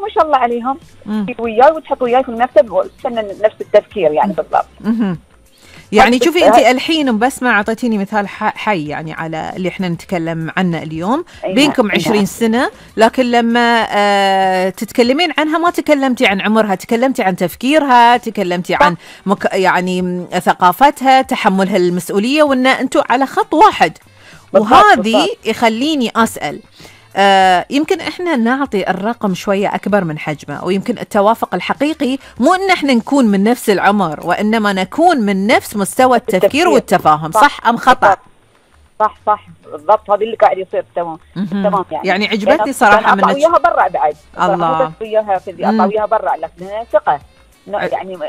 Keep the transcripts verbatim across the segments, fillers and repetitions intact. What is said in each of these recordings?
ما شاء الله عليهم وياي وتحط وياي في المكتب وستنى نفس التفكير يعني بالضبط. يعني شوفي انت الحين بس ما اعطيتيني مثال حي يعني على اللي احنا نتكلم عنه اليوم. بينكم عشرين سنة، لكن لما آه تتكلمين عنها ما تكلمتي عن عمرها، تكلمتي عن تفكيرها، تكلمتي عن مك يعني ثقافتها، تحملها المسؤولية، وان انتوا على خط واحد. وهذه يخليني اسأل، آه يمكن احنا نعطي الرقم شوية اكبر من حجمه، ويمكن التوافق الحقيقي مو ان احنا نكون من نفس العمر، وانما نكون من نفس مستوى التفكير, التفكير. والتفاهم. صح, صح ام خطأ؟ صح صح بالضبط، هذا اللي قاعد يصير. تمام تمام. يعني يعني عجبتني صراحة منك. اطلع وياها برا بعد الله وياها في اطلع وياها برا، لكن ثقة يعني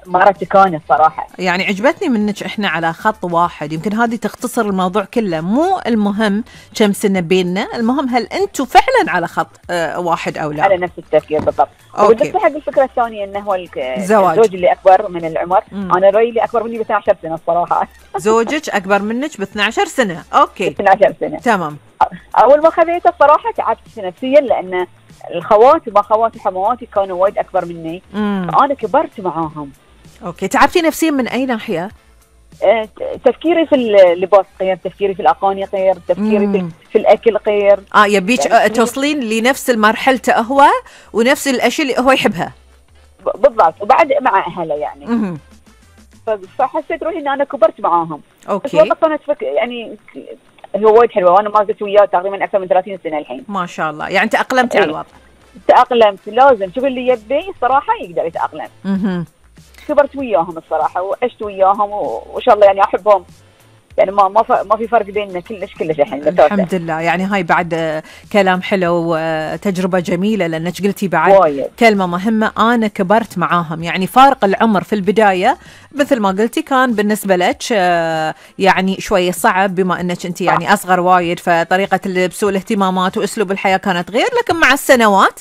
مرتي كانت صراحة. يعني عجبتني منك احنا على خط واحد. يمكن هذه تختصر الموضوع كله. مو المهم كم سنة بيننا، المهم هل انتم فعلا على خط اه واحد او لا، على نفس التفكير بالضبط. وبالنسبة حق الفكرة الثانية انه هو الزواج، الزوج اللي اكبر من العمر. مم. انا رأيي اللي اكبر مني ب اثنتي عشرة سنة الصراحة. زوجك اكبر منك ب اثنتي عشرة سنة. اوكي اثنتي عشرة سنة تمام. اول ما خذيته الصراحة تعبت نفسيا، لان الخوات وما خواتي حمواتي كانوا وايد اكبر مني. مم. فانا كبرت معاهم. اوكي، تعبتي نفسيا من اي ناحيه؟ آه، تفكيري في اللباس غير، تفكيري في الاغاني غير، تفكيري في, في الاكل غير. اه يبيك يعني توصلين لنفس مرحلته هو ونفس الاشياء اللي هو يحبها بالضبط، وبعد مع اهله يعني. مم. فحسيت روحي ان انا كبرت معاهم. اوكي. بس كانت فك... يعني هو وايد حلوه، وانا ما زلت وياه تقريبا اكثر من ثلاثين سنة الحين. ما شاء الله. يعني تأقلمتي على الوضع؟ تأقلمت. لازم شوف اللي يبي الصراحه يقدر يتأقلم. اها. كبرت وياهم الصراحه وعشت وياهم وان شاء الله يعني احبهم، يعني ما ما ما في فرق بيننا كلش كلش الحين. الحمد لله. يعني هاي بعد كلام حلو وتجربه جميله، لانك قلتي بعد وايد. كلمه مهمه، انا كبرت معاهم. يعني فارق العمر في البدايه مثل ما قلتي كان بالنسبه لك يعني شويه صعب، بما انك انت يعني اصغر وايد، فطريقه اللبس والاهتمامات واسلوب الحياه كانت غير. لكن مع السنوات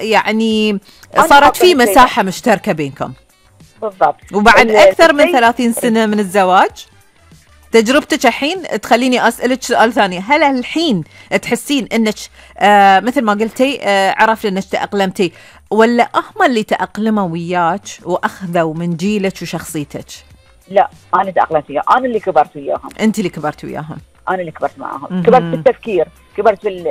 يعني صارت في مساحه مشتركه بينكم. بالضبط. وبعد اكثر من ثلاثين سنه من الزواج، تجربتك الحين تخليني أسألك سؤال ثاني. هل الحين تحسين أنك آه مثل ما قلتي آه عرفت أنك تأقلمتي، ولا هم اللي تأقلموا وياك وأخذوا من جيلك وشخصيتك؟ لا، أنا تأقلمت وياهم، أنا اللي كبرت وياهم. أنت اللي كبرت وياهم. أنا اللي كبرت معهم. م-م. كبرت في التفكير، كبرت في,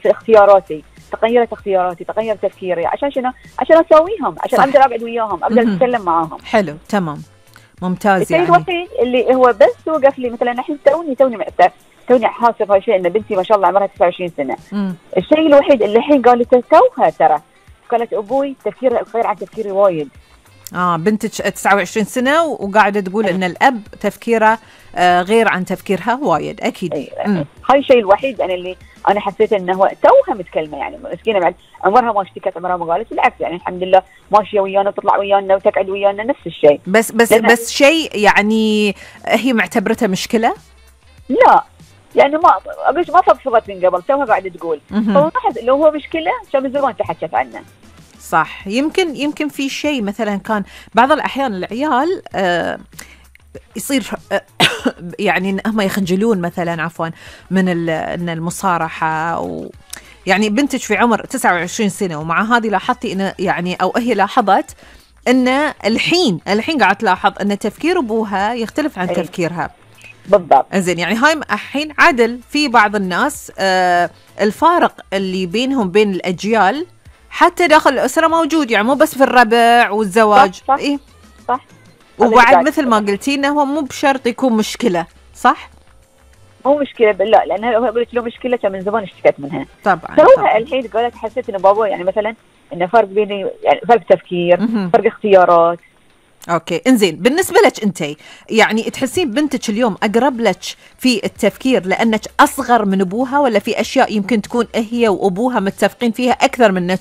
في اختياراتي، تغيرت اختياراتي، تغير تفكيري. عشان شنو؟ عشان أساويهم، عشان أقدر أقعد وياهم، أقدر أتكلم معاهم. حلو تمام ممتاز. الشيء يعني الوحيد اللي هو بس وقف لي مثلا الحين توني توني توني حاسه في شيء، ان بنتي ما شاء الله عمرها تسعة وعشرين سنة. مم. الشيء الوحيد اللي الحين قالت توها ترى قالت ابوي تفكيره غير عن تفكيري وايد. اه بنتك تسعة وعشرين سنة وقاعده تقول ان الاب تفكيره آه غير عن تفكيرها وايد. اكيد. أيه. هاي الشيء الوحيد انا اللي انا حسيت انه توها متكلمه، يعني مسكينه بعد عمرها ما اشتكت، عمرها ما قالت، بالعكس يعني الحمد لله ماشيه ويانا وتطلع ويانا وتقعد ويانا نفس الشيء. بس بس بس شيء يعني هي معتبرتها مشكله؟ لا يعني ما اقولش ما فضفضت من قبل، توها قاعده تقول. فلاحظ لو هو مشكله كان من زمان تحكت عنه. صح. يمكن يمكن في شيء مثلا كان بعض الاحيان العيال آه يصير يعني ان هم يخجلون مثلا عفوا من ان المصارحه، و يعني بنتك في عمر تسعة وعشرين سنة، ومع هذه لاحظتي ان يعني او هي لاحظت ان الحين الحين قاعد تلاحظ ان تفكير ابوها يختلف عن أي. تفكيرها. بالضبط. زين يعني هاي الحين عدل في بعض الناس آه الفارق اللي بينهم بين الاجيال حتى داخل الاسره موجود، يعني مو بس في الربع والزواج. صح صح, إيه؟ صح. وبعد مثل ما قلتي انه هو مو بشرط يكون مشكله. صح؟ مو مشكله لا، لان هو قلت له مشكله كان من زمان اشتكت منها. طبعا. فهو الحين قالت حسيت ان بابا يعني مثلا انه فرق بيني، يعني فرق تفكير، م-م. فرق اختيارات. اوكي انزين. بالنسبه لك انت يعني تحسين بنتك اليوم اقرب لك في التفكير لانك اصغر من ابوها، ولا في اشياء يمكن تكون هي وابوها متفقين فيها اكثر منك؟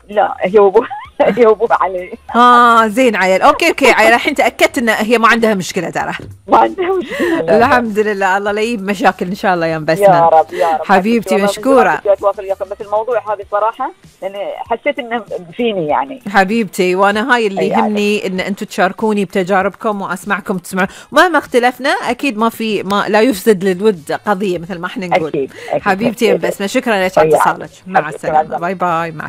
لا هي وابوها هي وابوها علي. اه زين عيل. اوكي اوكي عيل. الحين تاكدت ان هي ما عندها مشكله ترى. ما عندها مشكله. الحمد لله. الله لا يجيب مشاكل ان شاء الله يا بسمة. يا رب يا رب حبيبتي مشكوره. بس الموضوع هذا صراحه لان حسيت انه فيني يعني. حبيبتي وانا هاي اللي يهمني ان انتم تشاركوني بتجاربكم واسمعكم تسمعون، مهما اختلفنا اكيد ما في ما لا يفسد للود قضيه مثل ما احنا نقول. أكيد. أكيد. حبيبتي يا بسمة شكرا لك على اتصالك. مع السلامه. باي باي. مع